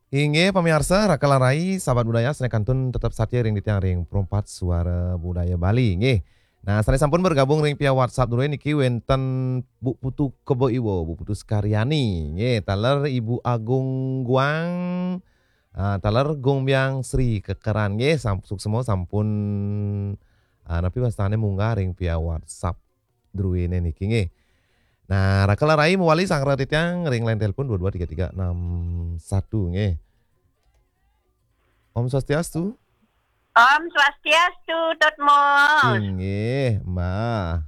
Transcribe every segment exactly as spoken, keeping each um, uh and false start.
Inggih, pamiarsa, Raka lan Rai, sahabat budaya, sané kantun tetep satia ring titiang ring Perempat Suara Budaya Bali, nggih. Nah, sané sampun bergabung ring via WhatsApp dulu niki wénten Bu Putu Kebo Iwa, Bu Putu Sekaryani, nggih, taler Ibu Agung Guang, ah, taler Gung Biang Sri Kekeran, nggih, sam-, suksma sampun, ah, napi wastané munggah ring via WhatsApp druéné niki, nggih. Nah, Raka lan Rai mawali sareng titiang ring line telepon dua dua tiga tiga enam satu, nggih. Om Swastiastu. Om Swastiastu, Tut Mus. Inggih, Mbah.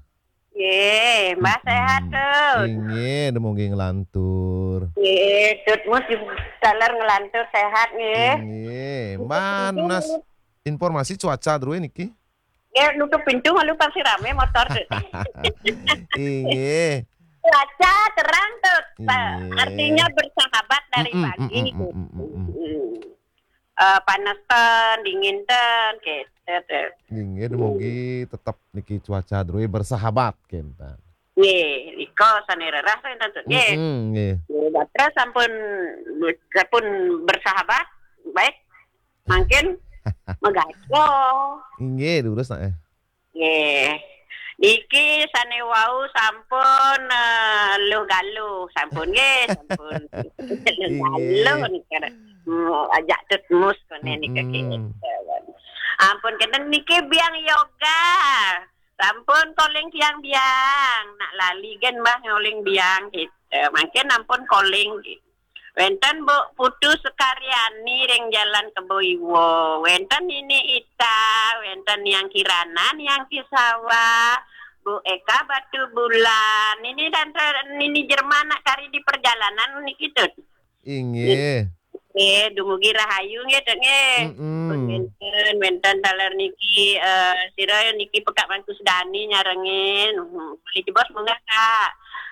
Nggih, Mbah, sehat, Tut? Inggih, dumugi nglantur. Nggih, Tut Mus taler nglantur sehat, nggih. Inggih, Mbah, nunas informasi cuaca drué niki. Ya, nutup pintu malu pasti ramé motor, Tut. Inggih. Cuaca terang, Tut. Inggih. Artinya bersahabat dari pagi, Tut. Mm-mm. Eh, panas ten, dingin ten, gitu, Tut. Inggih, dumugi tetep niki cuaca drué bersahabat, kénten. Nggih, nika sané rerah, Tut, nggih. Mm-mm, nggih. Nggih, gatra sampun, sampun bersahabat, baik. Mangkin magaco. Inggih, durus, nah, eh. Nggih. Niki sané wau sampun, eh, luh galuh, sampun nggih, sampun. Luh galuh nika. Hmm, ajak Tut Mus koné nika. Mm-mm. Ampun, kénten niki Biang Yoga. Sampun calling tiang Biang. Nak lali gén Mbah calling Biang gitu. Mangkin ampun calling gitu. Wénten Bu Putu Sekaryani ring Jalan Kebo Iwa. Wénten Nini Ita, wénten Niang Kirana, Niang Kisawa, Bu Eka Batu Bulan. Nini dan Nini Jerman nak kari di perjalanan niki, Tut. Inggih. Nggih, dumugi rahayu nggih, Tut, nggih. Mm-mm. Wénten, wénten taler niki, eh, sira niki Pekak Mangku Sedani nyarengin. Hmm, malih jebos munggah, Kak.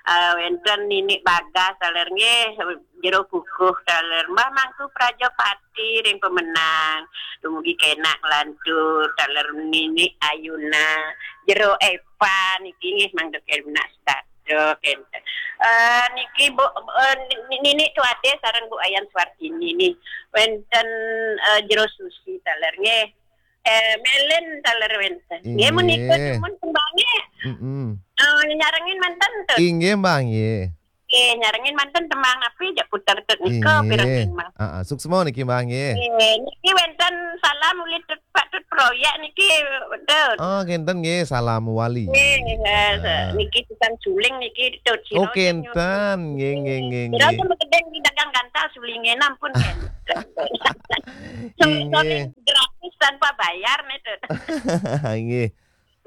Eh, wénten Nini Bagas taler nggih, Jero Kukuh taler. Mbah Mangku Prajapati ring Pemenang. Dumugi kénak lantur taler Nini Ayuna. Jero Epa niki nggih mangda kénak Duh, kénten. Eh, niki Bu, eh, ni-, Nini Tuade sareng Bu Ayan Suartini nih. Wénten, eh, Jero Susi taler nggih. Eh, Melen taler wénten. Nggih, menika dumun tembangé. Mm-mm. Eh, nyarengin manten, Tut. Inggih, Mbah, nggih. Nggih, nyarengin manten tembang napi jak puter, Tut, nika pirengang, Mbah. Heeh, suksma niki, Mbah, nggih. Nggih, niki wénten salam uli Tut Pak Tut Proyek niki, Tut. Oh, kénten nggih, salam wali. Nggih, nggih, niki tukang suling niki, Tut. Oh, kénten. Nggih, nggih, nggih, nggih. Sira medeng di dagang gantah sulingé, ampun, kénten. Suling gratis tanpa bayar nih, Tut. Nggih.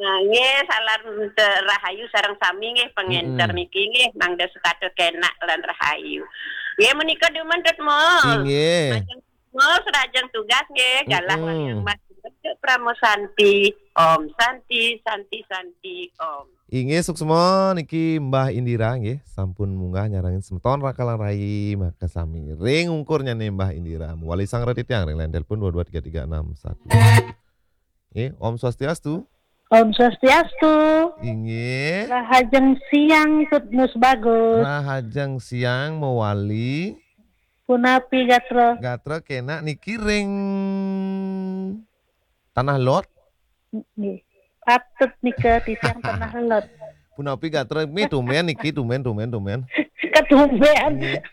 Nah, nggih, salam te-, rahayu sareng sami nggih pangénter niki nggih, mangda setata kénak lan rahayu. Nggih, menika dumun, Tut Mus. Inggih. Majeng Mus, rajeng tugas nggih, galah wargi Mas Pramu Santi. Om Santi, Santi, Santi, Om. Inggih, suksma niki Mbah Indira nggih, sampun munggah nyarengin semeton Raka lan Rai makasami. Ring ungkurnyané Mbah Indira. Mawali sareng titiang ring line telepon dua dua tiga tiga enam satu. Nggih, Om Swastiastu. Om Swastiastu. Inggih. Rahajeng siang, Tut Mus Bagus. Rahajeng siang mawali. Punapi gatra? Gatra kénak niki ring Tanah Lot. Nggih. Patut nika titiang Tanah Lot. Punapi gatra mi tumbén niki, tumbén, tumbén, tumbén. Ketumbén. Nggih.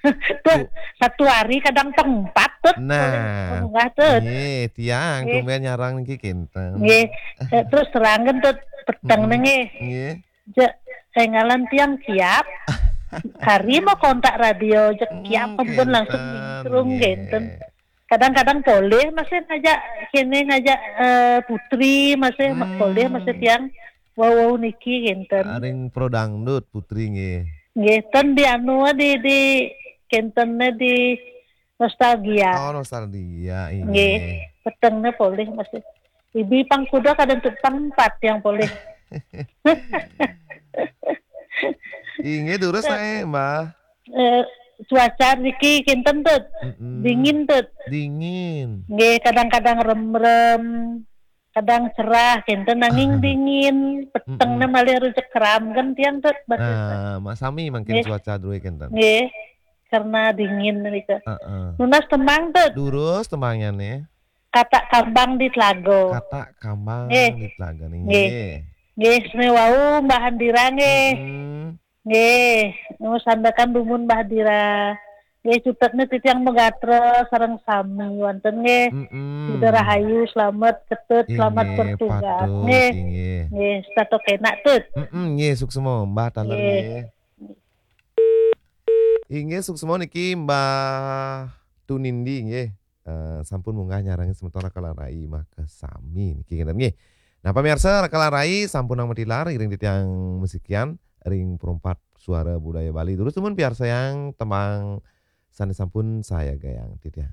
Tuh, satu hari kadang tempat, Tut. Nah. Munggah, Tut. Nggih, tiang tumbén nyarang niki kénten. Nggih. Eh, terus terangkan, Tut, peteng nggih. Nggih. Jek, énggalan tiang Kiap. Hari mau kontak radio, jek Kiap ampun langsung nyingkrung, nggih, kénten. Kadang-kadang polih masih ngajak kéné, ngajak, eh, Putri masih, polih masih tiang wau-wau niki kénten. Ring Pro Dangdut Putri nggih. Nggih, ten di anu, di, di kénten di Nostalgia. Oh, Nostalgia, nggih. Petengné polih masih. Ibi pang kuda kadén Tut pang empat yang polih. Inggih, durus aé, Mbah. Eh, cuaca niki kénten, Tut. Dingin, Tut. Dingin. Nggih, kadang-kadang remrem, kadang cerah kénten, nanging dingin. Petengné malih rujek keram kan tiang, Tut, batis. Nah, mak sami mangkin cuaca drué kénten. Nggih. karena dingin nika. Heeh. Nunas tembang tuh. Durus tembangnya nih. Kata kambang di telago. Kata kambang Nggih. Di telaga nih. Nggih. Nggih. Nggih, sami wau Mbah Handira nggih. Mm-mm. Nggih, nu sandekan dumun Mbah Handira. Nggih, cutetna titiang megatra sareng sami wonten nggih. Mm-mm. Sida rahayu, selamat ketut, selamat Inggih, bertugas. patut, Nggih. Inggih. Nggih, setato kenak tut. Mm-mm, nggih, suksma Mbah Taler Nggih. nggih. Inggih, suksma niki Mbah Tunindi nggih. Eh, sampun munggah nyarengin semeton Raka lan Rai maka sami niki ngeten nggih. Nah, pamirsa, Raka lan Rai sampun nang matilar iring titiang musikian ring Perempat Suara Budaya Bali. Terus temen piarsayang tembang sane sampun saya gayang titiang.